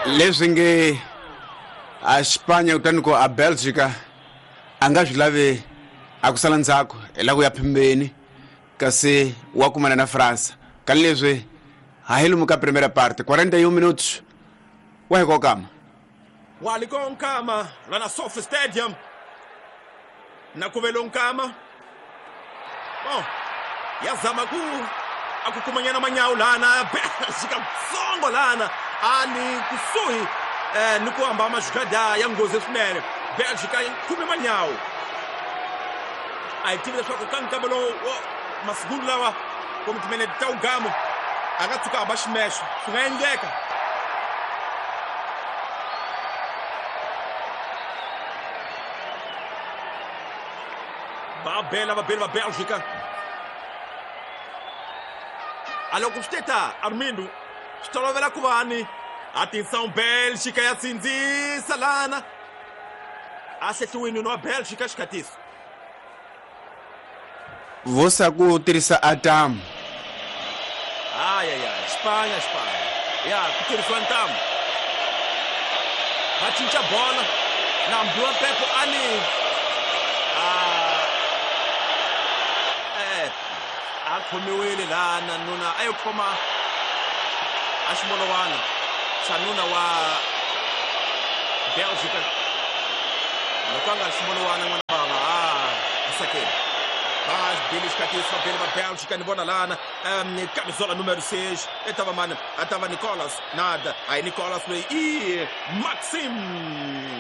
Leswi nge a Spanya kutani ku a Belgica a nga swi lavi a ku sala ndzhaku hi la ku ya phimbeni kasi wa kumana na Fransa ka leswi ha hi lomu ka primera parte 41 minutos wa hi kokama Waliko Nkama lana Sofi Stadium na kuvelo Nkama. Bom, yazama ku akukumanyana manyawu lana Belgica tsongo lana ali kusuhi ni ku hamba majugada ya nghozi swinene. Belgica yi khume manyawu, a hi tivi leswaku ka nkama lowu masiku lawa kumbe timinete ta ugamo a nga tshuka hamba ximexo, swi nga endleka. Va bela vabeli va Belgica. A loko swi teta Armindo swi tolovela ku va ni atenção Belgica ya sindzisa lana a hlehliwini wa Belgica xikhatiso Vosa ku tirhisa atamu. Ayaya, Spanya, Spanya ya ku tirhisiwa ntamu, va cinca bola na mbiwa Pepo ani a khomiwile lana nuna a yo khoma a ximolowana xa nuna wa Belgica loko a nga ximolowana n'wana bava a sakeni va bile xikhatiso va bile va Belgica ni vona lana camisola numero 6 e tava mani a tava Nicolas nada aí Nicolas loyi i Maxim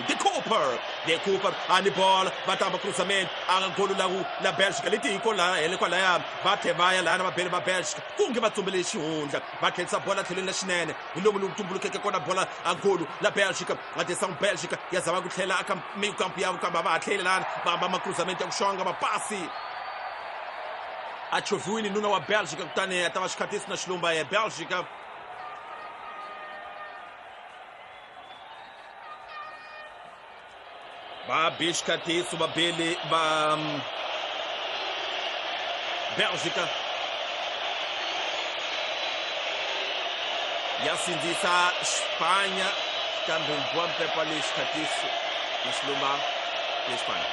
de Cooper de Cooper a ni bola va tamba cruzamento a golo la la Belgica leti hi kola hele kwalaya va tlhe va ya lana va bele va Belgica kunge va tsumbele xihundla va tlherisa bola tlhelweni la xinene hi lomu lowu tumbulukeke kona bola a golo la Belgica a tisa Belgica ya zama ku tlhela aka mikampu ya kambe va ha tlheli lana va hamba macruzamento ya ku xonga mapasi a chovhiwile nuna wa Belgica kutani a ta va xikhatiso na xilumba ya Belgica. Va be xikhatiso va bele va Belgica ya sindzisa Spanya kambe mbiwa mpepa le xikhatiso na xilumba le Spanya.